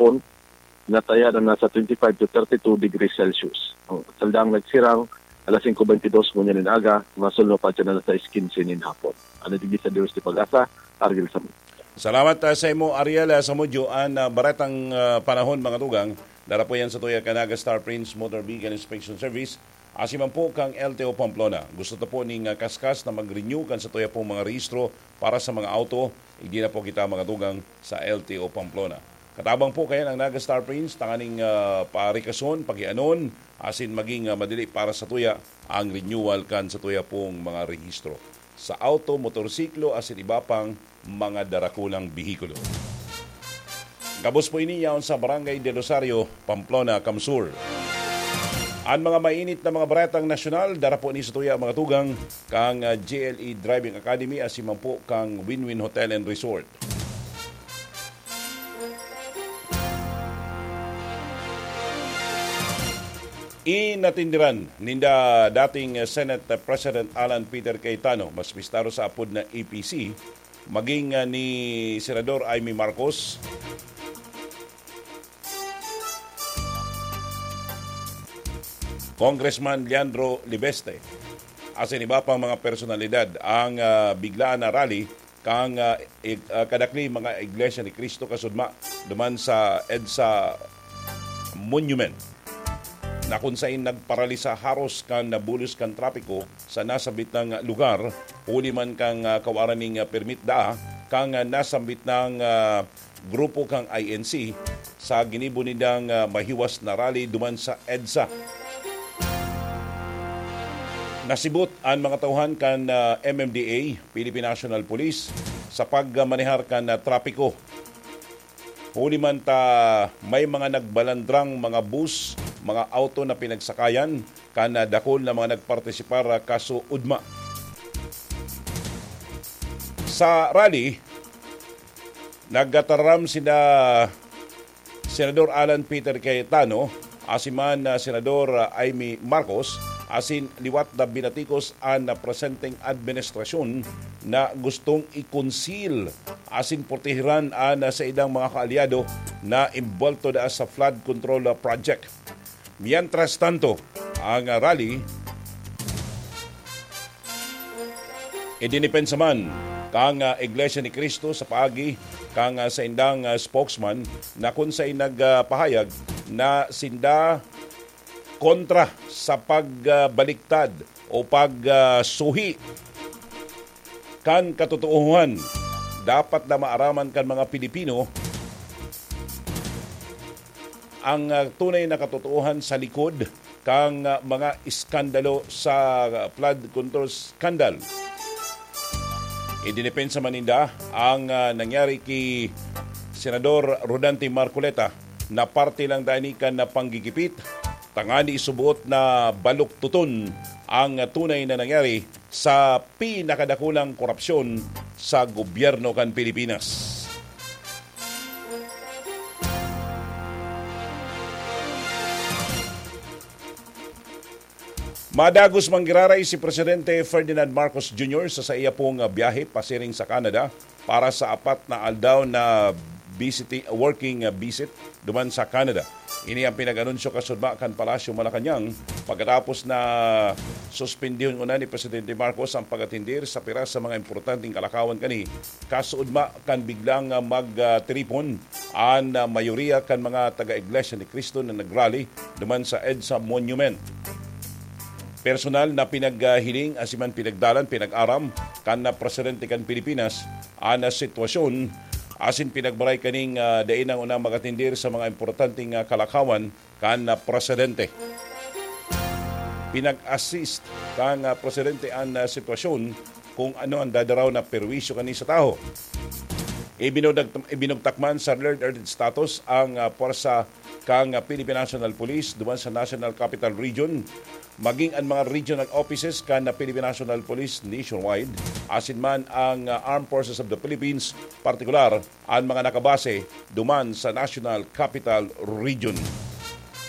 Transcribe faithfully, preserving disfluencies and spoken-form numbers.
hapon, nataya na nasa twenty-five to thirty-two degrees Celsius. Ang saldang nagsirang alas singko bentidós ngunyan nin aga, masulno pa siya na nasa quince nin hapon. Ano digdi sa Diyos di Pag-asa, Ariel Samudio. Salamat, ah, sa imo, Ariel, ah, Samudio. An, ah, baretang, ah, panahon, mga tugang, dara po yan sa tuya kan Naga Star Prince Motor Vehicle Inspection Service. Asin man po kang L T O Pamplona. Gusto ta po ning, ah, kaskas na mag-renew kan sa tuya pong mga rehistro para sa mga auto. Igdi na po kita, mga tugang, sa L T O Pamplona. Katabang po kayan ang Naga Star Prince, tanganing, ah, parikason, pakianon, asin maging, ah, madali para sa tuya ang renewal kan sa tuya pong mga rehistro. Sa auto, motorsiklo, asin iba pang mga darakulang behikulo. Gabos po ini yaon sa Barangay del Rosario, Pamplona, Kamsur. An mga mainit na mga baretang nasyonal, dara po ni sa tuya, mga tugang, kang, ah, J L E Driving Academy, asin man po kang Win-Win Hotel and Resort. Inatindiran ninda dating Senate President Alan Peter Cayetano, mas bistaro sa apod na A P C, maging, ah, ni Senador Imee Marcos, Congressman Leandro Libeste, asin iba pang mga personalidad ang, ah, biglaan na rally kang, ah, ig-, ah, kadakli mga Iglesia ni Cristo kasudma duman sa EDSA Monument, na kun sain nagparalisa haros kan nabulos kan trapiko sa nasambit na lugar, huli man kan, ah, kawaran nin, ah, permit daa kan, ah, nasambit na, ah, grupo kan I N C sa ginibo nindang, ah, mahiwas na rally duman sa EDSA. Nasibot an mga tauhan kan, ah, M M D A, Philippine National Police, sa pagmanehar kan, ah, trapiko. Huli man ta may mga nagbalandrang mga bus, mga auto na pinagsakayan kan, ah, dakul na mga nagpartisipar, ah, kasuodma. Sa rally, nagtararam sina Senador Alan Peter Cayetano, asin man, ah, Senador, ah, Imee Marcos, asin liwat na binatikos an, ah, presenteng administrasyon na gustong i-conceal asin proteheran an, ah, saindang mga kaalyado na imbolto daa sa flood control, ah, project. Mientras tanto, ang, ah, rally, idinipensa man kang, ah, Iglesia ni Cristo sa paagi kang, ah, saindang, ah, spokesman na kun sain nagpahayag na sinda kontra sa pagbaliktad o pagsuhi kan katotoohan. Dapat na maaraman kan mga Pilipino ang, ah, tunay na katotoohan sa likod kang, ah, mga iskandalo sa, ah, flood control scandal. Idinipensa man ninda ang, ah, nangyari ki Senador Rodante Marcoleta na parte lang dai ni kan, ah, panggigipit, tangani isuboot na baluktuton ang, ah, tunay na nangyari sa pinakadakulang korupsyon sa gobyerno kan Pilipinas. Madagos manggiraray si Presidente Ferdinand Marcos Junior sa saiya pong, ah, biyahe pasiring sa Canada para sa apat na aldaw na visiti-, working, ah, visit duman sa Canada. Ini ang pinag-anunsyo kasudma kan Palasyo Malacañang pagkatapos na suspendihon ngona ni Presidente Marcos ang pag-atendir sa pira sa mga importanteng kalakawan kani, kasuodma kan biglang, ah, magtiripon an, ah, mayoriya kan mga taga-Iglesia ni Cristo na nagrally duman sa EDSA Monument. Personal na pinaghiling asin man pinagdalan, pinag-aram kan, ah, presidente kan Pilipinas an, ah, sitwasyon, asin pinagbaray kaning, ah, dai na ngona mag-atendir sa mga importanteng, ah, kalakawan kan, ah, presidente. Pinag-assist kan, ah, presidente an, ah, sitwasyon kung ano ang dadaraw na perwisyo kani sa tawo. Ibinugtak-, ibinugtak man sa Rare Earth status ang, ah, pwersa kan, ah, Philippine National Police duman sa National Capital Region, maging an mga regional offices kan, ah, Philippine National Police nationwide, asin man ang, ah, Armed Forces of the Philippines, partikular an mga nakabase duman sa National Capital Region.